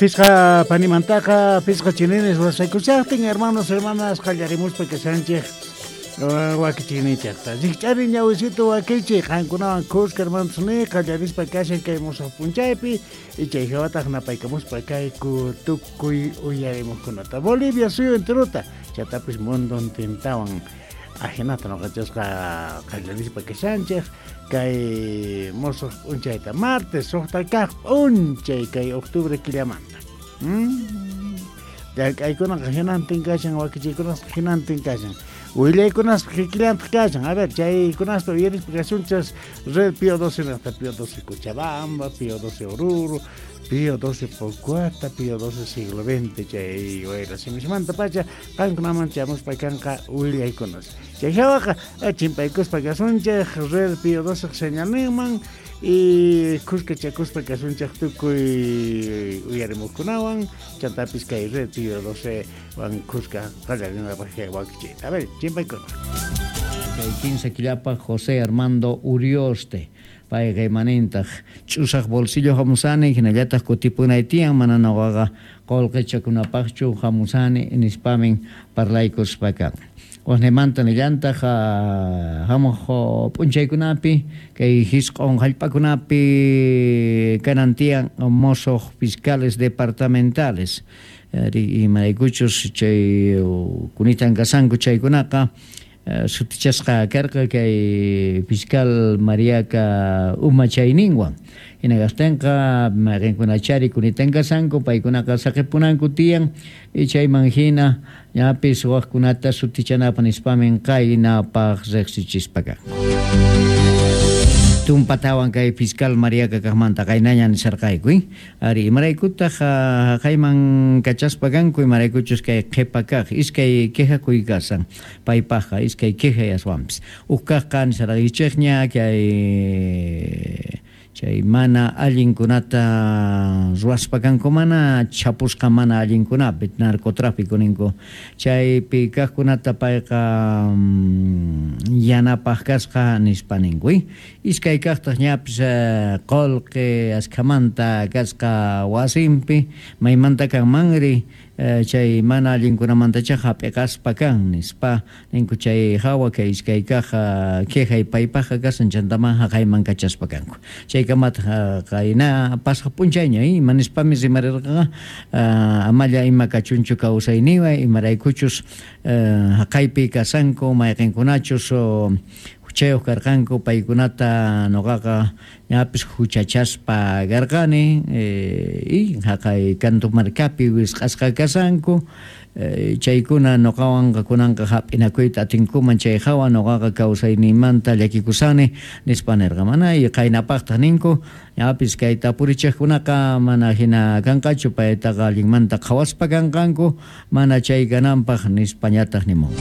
Pisqa panimantaqa pisqa chininis wasaykushaqtin hermanos hermanas qallarimuspa kashanchik wakichiyninchikta. Rikch'ari ñawisitu wakichiy qankunawan kuska hermanos ni qallarispa kashan kay musuq p'unchaypi y chay hawataq napaykamuspa kayku tukuy uyarimuqkunata. Bolivia suyu enterota chatapis mundontintawan ajinata noqanchasqa qallarispa kashanchik kay musuq p'unchayta martes suqta kaq p'unchay kay octubre killamanta. Llank'aykunaqa hinantin kashan, wakichiykunasqa hinantin kashan, willaykunasqa kikillantaq kashan. A ver, chaykunasta uyarispa kasunchas Red Pío 12 nisqata, Pío 12 Cochabamba, Pío 12 Oruro, Pío 12 Pocoata, Pío 12 siglo XX, chay wayra simismantapacha qankunaman chamuspa kanqa willaykunas. Chay hawaqa chimpaykuspa kasunchik Red Pío 12 señalninman y kuskachakuspa kasunchik tukuy uyarimuqkunawan, chantapis kay Red Pío 12 wan kuska qallarinapaq kay wakichiyta. A ver, chimpaykuna. Kay 15 killapaq José Armando Urioste payqa imanintaq ch'usaq bolsillo hamusani hinallataq kutipunay tiyan mana nuqaqa qullqichakunapaqchu hamusani nispamin parlaykuspa kan. Waqnimanta nillantaq hamuq p'unchaykunapi kay hisq'un hallp'akunapi kanan tiyan musuq fiscales departamentales imaraykuchus chay kunitan kasanku chaykunaqa sutichasqa karqa kay fiscal Mariaca umachayninwan hina kaqtinqa mayqinkunachari kunitan kasanku paykunaqa saqipunanku tiyan y chayman hina ñapis waqkunata sutichanapaq nispamin qaynapaq riqsichispa kanku. Tumpatawan kay fiscal Mariaca kaqmanta qaynaña nisharqayku, ari imaraykutaq haqayman kachaspa kanku imaraykuchus kay qhipa kaq iskay quejakuy kasan paypaqqa iskay queja aswanpis huk kaqqa nisharqaykichikña kay chay mana allinkunata ruwaspa kanku mana chapusqa mana allinkunapi narcotráfico ninku chaypi kaqkunata payqa yanapaq kasqa nispa ninku iskay kaqtaq ñapis qullqi askhamanta kasqa wasinpi maymanta kanmanri chay mana allinkunamantacha hap'iqaspa kan nispa ninku chay hawa kay iskay kaq quejay paypaqqa kasan chantaman haqayman kachaspa kanku chaykamataq qayna pasaq p'unchayña ima nispami rimarirqaqa amalla ima kachunchu kawsayniwan imaraykuchus haqaypi kasanku mayqinkunachus huchayuq karqanku paykunata nuqaqa ñapis huchachaspa karqani y haqay Cantumarcapi wisq'asqa kasanku chaykuna nuqawanqa kunanqa hap'inakuyta atinkuman chay hawa nuqaqa kawsayninmanta llakikusani nispa nirqa mana y qaynapaqtaq ninku ñapis kay tapurichiqkunaqa mana hina kanqachu paytaqa allinmanta qhawaspa kanqanku mana chay kananpaq nispañataq nimun.